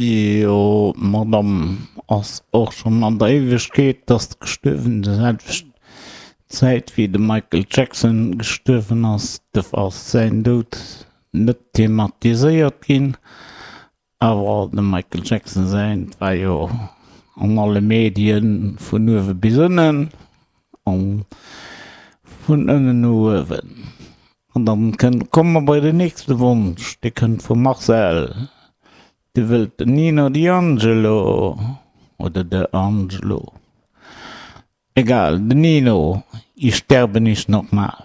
Jo, d'Madame ass och schonn an der Éiwegkeet, ass gestuerwen, déi selwecht Zäit wéi de Michael Jackson gestuerwen ass. Duerfir ass säin Doud net thematiséiert ginn, awer dem Michael Jackson säint war jo an alle Medien vun uewe bis ënnen an vun ënnen no uewen. An dann kënnt, komme mer bei den nächste Wonsch, dee kënnt vum Marcel, dee wëllt den Nino D'Angelo oder de Angelo, egal, den Nino, Ich sterbe nicht nochmal.